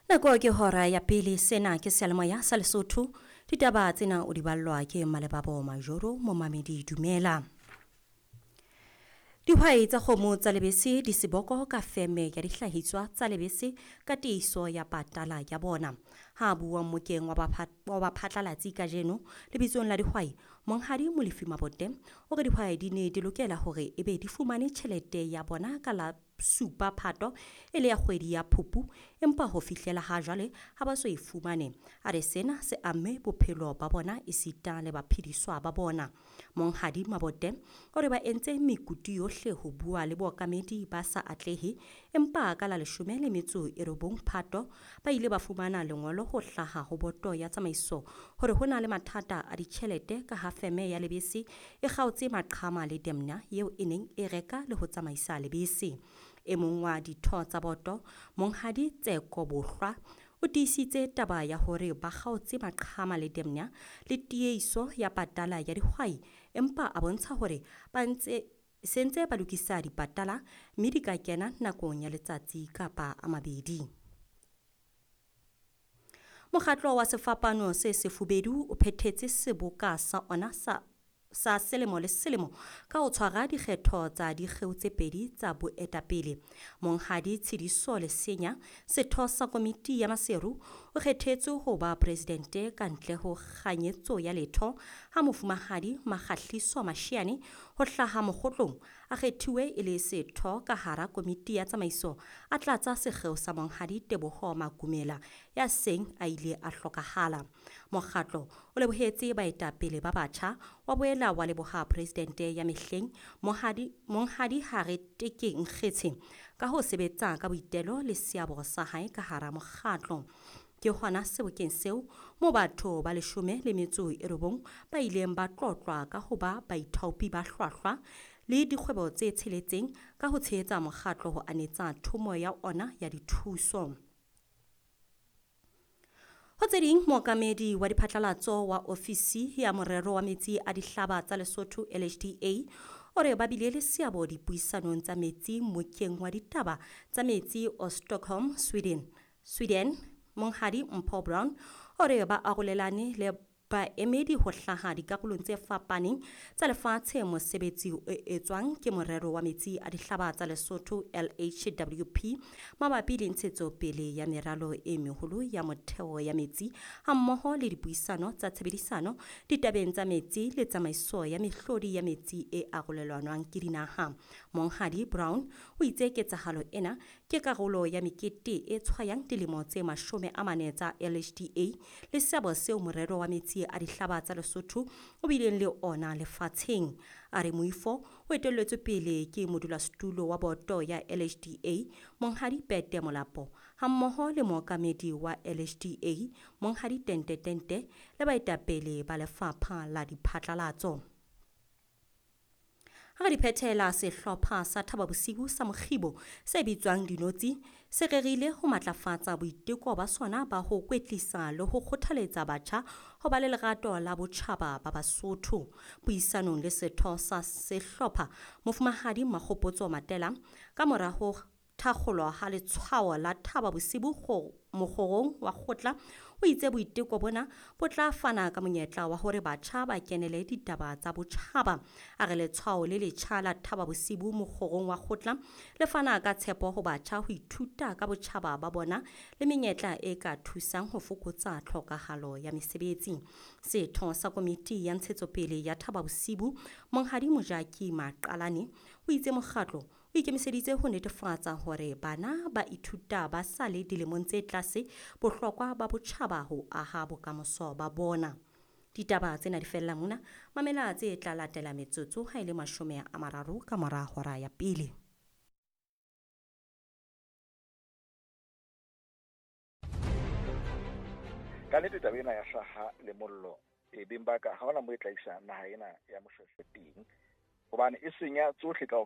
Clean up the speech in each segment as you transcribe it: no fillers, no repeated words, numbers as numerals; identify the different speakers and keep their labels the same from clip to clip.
Speaker 1: Nako ke hora ya pele sena ke seyalemoya sa Lesotho. Ditaba tsena o di ballwa ke Malebabo Majoro momamedi dumela. Dihwai tsa kgomo tsa lebese di seboko ka feme ya dihlahiswa tsa lebese ka tiiso ya patala ya bona. Ha bua mmokeng wa baphatlalatsi kajeno lebitsong la dihwai, Monghadi Molefi Mabote o re dihwai di ne di lokela hore ebe di fumane tjhelete ya bona ka la 7 Phato e le ya kgwedi ya Phupu, empa ho fihlela ha jwale ha ba so e fumane. A re sena se amme bophelo ba bona esita le baphediswa ba bona. Monghadi Mabote o re ba entse mekutu yohle ho bua le bookamedi ba sa atlehe, empa ka la 19 Phato ba ile ba fumana lengolo ho hlaha ho boto ya tsamaiso hore ho na le mathata a ditjhelete ka ha feme ya lebese e kgaotse maqhama le Demna eo e neng e reka le ho tsamaisa lebese. E mong wa ditho tsa boto, Monghadi Tseko Bohlwa, o tiisitse taba ya hore ba kgaotse maqhama le Demna le tieiso ya patala ya dihwai, empa a bontsha hore ba ntse sentse ba lokisa dipatala mme di ka kena nakong ya letsatsi kapa a mabedi. Mokgatlo wa Sefapano se Sefubedu o phethetse seboka sa ona sa selemo le selemo ka ho tshwara dikgetho tsa dikgeo tse pedi tsa boetapele. Monghadi Tshidiso Lesenya, setho sa komiti ya Maseru, o kgethetswe ho ba presidente ka ntle ho kganyetso ya letho ha mofumahadi Makgahliso Mashiane ho hlaha mokgotlong a kgethiwe e le setho ka hara komiti ya tsamaiso, a tlatsa sekgeo sa Monghadi Teboho Makumela ya seng a ile a hlokahala. Mokgatlo o lebohetse baetapele ba batjha, wa boela wa leboha presidente ya mehleng Monghadi Hare Teke Nkgetshe ka ho sebetsa ka boitelo le seabo sa hae ka hara mokgatlo. Ke hona sebokeng seo mo batho ba 19 ba ileng ba tlotlwa ka ho ba baithaopi ba hlwahlwa le dikgwebo tse tsheletseng ka ho tshehetsa mokgatlo ho anetsa thomo ya ona ya dithuso. Ho tse ding, mookamedi wa diphatlalatso wa ofisi ya morero wa metsi a dihlaba tsa Lesotho LHDA o re ba bile le seabo dipuisanong tsa metsi mmokeng wa ditaba tsa metsi o Stockholm, Sweden. Monghadi Mpho Brown o re ba arolelane le baemedi ho hlaha dikarolong tse fapaneng tsa lefatshe mosebetsi o etswang ke morero wa metsi a dihlaba tsa Lesotho LHWP mabapi le ntshetsopele ya meralo e meholo ya motheo ya metsi hammoho le dipuisano tsa tshebedisano ditabeng tsa metsi le tsamaiso ya mehlodi ya metsi e arolelwanwang ke dinaha. Monghadi Brown o itse ketsahalo ena ke karolo ya mekete e tshwayang dilemo tse 40 tsa LHDA le seabo seo morero wa metsi a dihlaba tsa Lesotho o bileng le ona lefatsheng. A re moifo o etelletswe pele ke modulasetulo wa boto ya LHDA Monghadi Pete Molapo hammoho le mookamedi wa LHDA Monghadi Tente Tente le baetapele ba lefapha la diphatlalatso. Ha re di phethela, sehlopha sa Thaba Bosiu sa Mokgibo se bitswang Dinotsi se rerile ho matlafatsa boiteko ba sona ba ho kwetlisa le ho kgothaletsa batjha ho ba le lerato la botjhaba ba Basotho. Puisanong le setho sa sehlopha Mofumahadi Makgopotso Matela ka mora ho thakgolo ha letshwao la Thaba Bosiu mokgorong wa kgotla, o itse boiteko bona bo tla fana ka monyetla wa hore batjha ba kenele ditaba tsa botjhaba. A re letshwao le letjha la Thaba Bosiu mokgorong wa kgotla le fana ka tshepo ho batjha ho ithuta ka botjhaba ba bona le menyetla e ka thusang ho fokotsa tlhokahalo ya mesebetsi. Setho sa komiti ya ntshetsopele ya Thaba Bosiu Monghadi Mojaki Maqalane o itse mokgatlo o ikemiseditse ho netefatsa hore bana ba ithuta ba sa le dilemong tse tlase bohlokwa ba botjhaba ho aha bokamoso ba bona. Ditaba tsena di fella mona, mamela tse tla latela metsotso ha e le 30 ka mora hora ya pele.
Speaker 2: Ka nnete taba ena ya hlaha le mollo e beng ba ka ha hona mo e tla isa naha ena ya Moshweshwe teng, hobane e senya tsohle ka.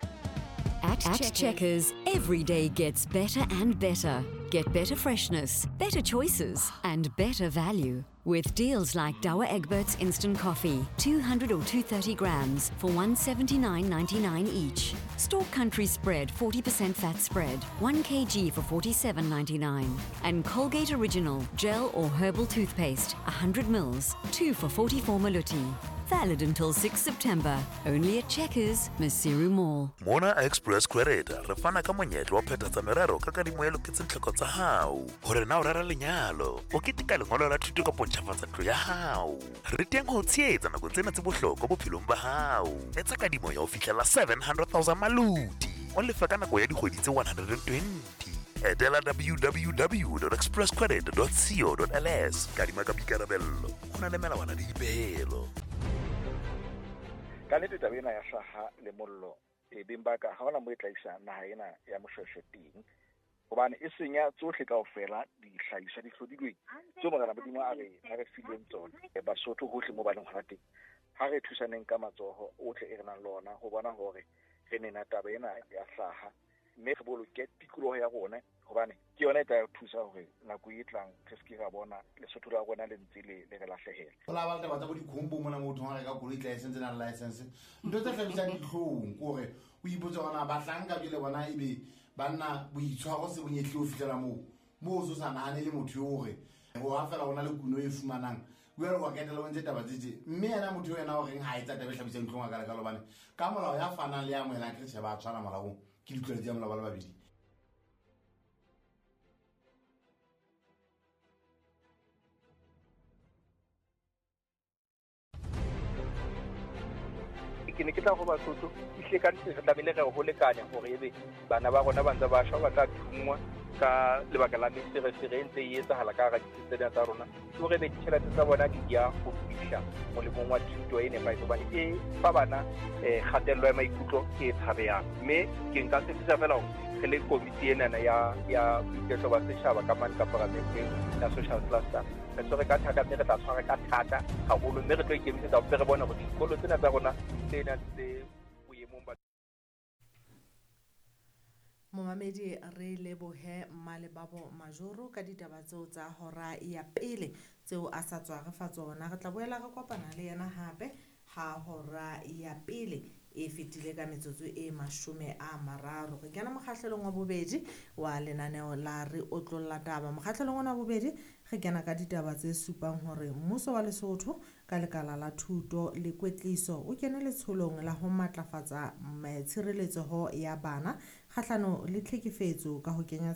Speaker 3: At Checkers, every day gets better and better. Get better freshness, better choices, and better value. With deals like Douwe Egberts Instant Coffee, 200 or 230 grams for 179.99 each. Stork Country Spread 40% fat spread, 1 kg for 47.99. And Colgate Original Gel or Herbal Toothpaste, 100 mils, 2 for 44 maluti. Valid until 6 September. Only at Checkers, Maseru Mall.
Speaker 4: Mona Express Credit re fana ka monyetla wa phethatsa merero ka kadimo e loketseng tlhoko tsa hao. Hore na o rera lenyalo, o keteka lengolo la thuto kapa o ntjhafatsa ntlo ya hao. Re teng ho o tshehetsa nakong tsena tse bohlokwa bophelong ba hao. Etsa kadimo ya ho fihlela 700,000 maluti. O lefe ka nako ya dikgwedi tse 120. Etela www.expresscredit.co.ls. Kadima ka boikarabello. Ho na le melawana le dipehelo.
Speaker 2: Ka nnete taba ena ya hlaha le mollo e beng ba ka ha hona mo e tla isa naha ena ya Moshoeshoe teng, hobane e senya tsohle kaofela dihlahiswa di hlodilweng tseo Morena Modimo a re fileng tsona. Basotho hohle mo ba leng hona teng, ha re thusaneng ka matsoho ohle e re nang le ona ho bona hore re nena taba ena ya hlaha, mme re boloke tikoloho ya rona, hobane ke yona e tla re thusa hore nako e tlang re se ke ra bona Lesotho la rona le ntse le re lahlehela.
Speaker 5: Ho la ba le taba tsa bo dikhombo mona mo thong reka koloi license na license. Ntho tse hlabisang dihlong ke hore o ipotse hore na bahlanka jwale bona ebe banna boitshwaro se bonyehle ho fihlela moo. Moo o so sa nahane le motho eo hore ho ha fela hona le kuno e fumanang. Jwale wa ketela o ntse taba tse tje. Mme yena motho eo yena o reng ha etsa taba e hlabisang dihlong a ka leka hobane ka molao ya fanang le ya amohelang ke tjhe ba tshwana molaong ke ditlwaelo tsa molao ba le babedi.
Speaker 6: Ke ne ke tla ho Basotho ehlile ka nnete re tlamehile re ho lekanya hore ebe bana ba rona ba ntse ba shwa ba tla thungwa ka lebaka la meferefere e ntse e etsahala ka hara ditsi tsena tsa rona, ke hore ebe ditjhelete tsa bona di ya ho fihla molemong wa thuto e nepahetseng, hobane e fa bana kgatello ya maikutlo e tshabehang. Mme ke nka tshepisha fela hore re le komiti enana ya boiketlo ba setjhaba ka mane ka paramenteng ya social cluster, re tshwere ka thata mme re tla tshwara ka thata haholo, mme re tlo ikemisetsa hore re bone hore dikolo tsena tsa rona tsena tse boemong ba.
Speaker 7: Momamedi re lebohe Mmalebabo Majoro ka ditaba tseo tsa hora ya pele tseo a sa tswa re fa tsona. Re tla boela re kopana le yena hape ha hora ya pele e fetile ka metsotso e 30. Re kena mokgahlelong wa bobedi wa lenaneo la Re Otlolla Taba. Mokgahlelong ona wa bobedi re kena ka ditaba tse supang hore mmuso wa Lesotho ka lekala la thuto le kwetliso o kene letsholong la ho matlafatsa tshireletseho ya bana kgahlano le tlhekefetso ka ho kenya